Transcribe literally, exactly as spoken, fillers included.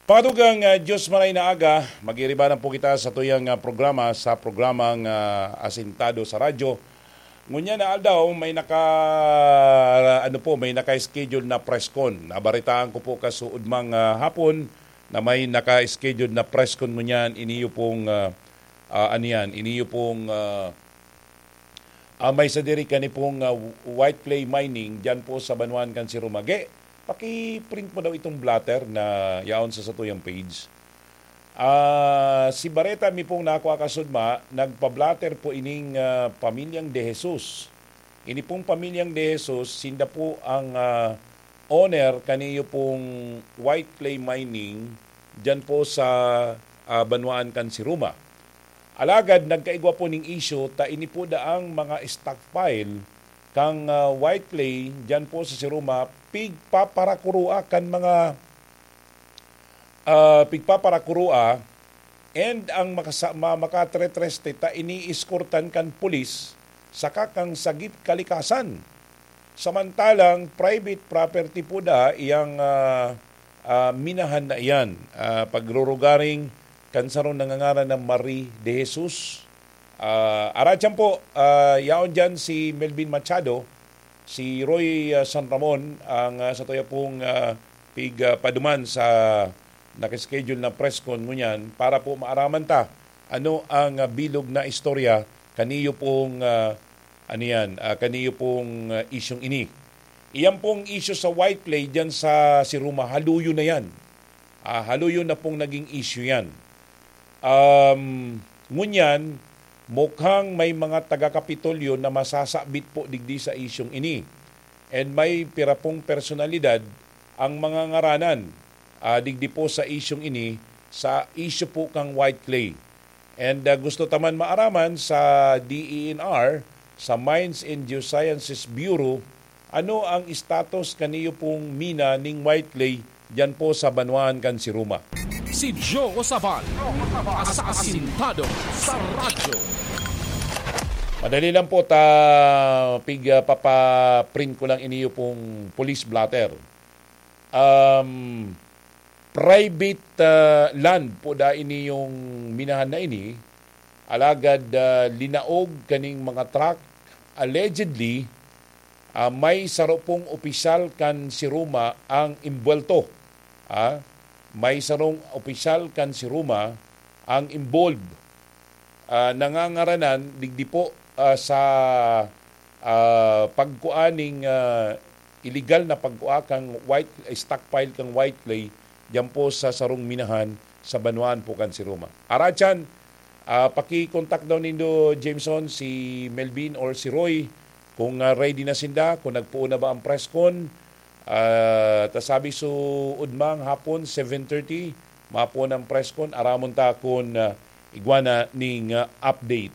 Patugang uh, Diyos maray na aga, magiribanan po kita sa tuyang uh, programa, sa programang uh, Asintado sa Radyo. Ngunyan na aldaw, may naka, ano po, may naka-schedule na press con. Nabaritaan ko po kasuodmang uh, hapon na may naka-schedule na press con ngunyan. Iniyo pong, uh, uh, ano yan, iniyo pong uh, uh, may sadiri kani pong uh, white clay mining dyan po sa Banwaan kan Sirumage. Paki-print mo daw itong blotter na yaon sa satuyang page. Ah, si Bareta mi pong nakua kasudma, nagpa-blotter po ining ah, pamilyang De Jesus. Ini pong pamilyang De Jesus, sinda po ang ah, owner kaniyo pong white clay mining dyan po sa ah, Banwaan kan Siruma. Alagad nagkaigwa po ning issue ta ini po daang mga stockpile kang ah, white clay dyan po sa Siruma, pigpaparakurua kan mga ah, pigpaparakurua, and ang makasa- ma- makatretreste ta ini-eskortan kan pulis saka kang sagip kalikasan. Samantalang private property po da iyang ah, ah, minahan na iyan. Ah, pagrurugaring kan sarong nangangaran na Marie de Jesus. Ah, aratyan po, ah, yaon dyan si Melvin Machado, si Roy ah, San Ramon, ang ah, sa tuya pong ah, pig ah, paduman sa nakaschedule na press con ngunyan para po maaraman ta ano ang ah, bilog na istorya kaniyo pong ah, ano yan, ah, kaniyo pong ah, isyong ini. Iyan pong issue sa white clay dyan sa Siruma, haluyo na yan. Ah, haluyo na pong naging issue yan. Um, ngunyan, mukhang may mga taga-Kapitolyo na masasabit po digdi sa isyong ini. And may pira pong personalidad ang mga ngaranan ah, digdi po sa isyong ini, sa issue po kang white clay. And ah, gusto ta man maaraman sa D E N R, sa Mines and Geosciences Bureau, ano ang status kaniyo pong mina ning white clay diyan po sa banwaan kan Siruma? Si Joe Sabal, asasintado sa radyo. Madali lang po, ta pig ah, papaprint ko lang iniyo pong police blotter. Um, private ah, land po da ini yung minahan na ini, alagad ah, linaog kaning mga truck, allegedly, ah, may saro pong opisyal kan Siruma ang imbuwelto. Ah, may sarong opisyal kan Siruma ang involved. Ah, nangangaranan digdi po ah, sa ah, pagkua ning ah, illegal na pagkua kang white, stockpile kang white clay diyan po sa sarong minahan sa banwaan po kan Siruma. Aratyan, ah, paki-contact daw nindo, Jameson, si Melvin or si Roy kung ah, ready na sinda, kung nagpuon na ba ang press con. Ah, ta sabi su udmang hapon, seven thirty, mapuon ang press con, aramon ta kun ah, igwa na ning ah, update.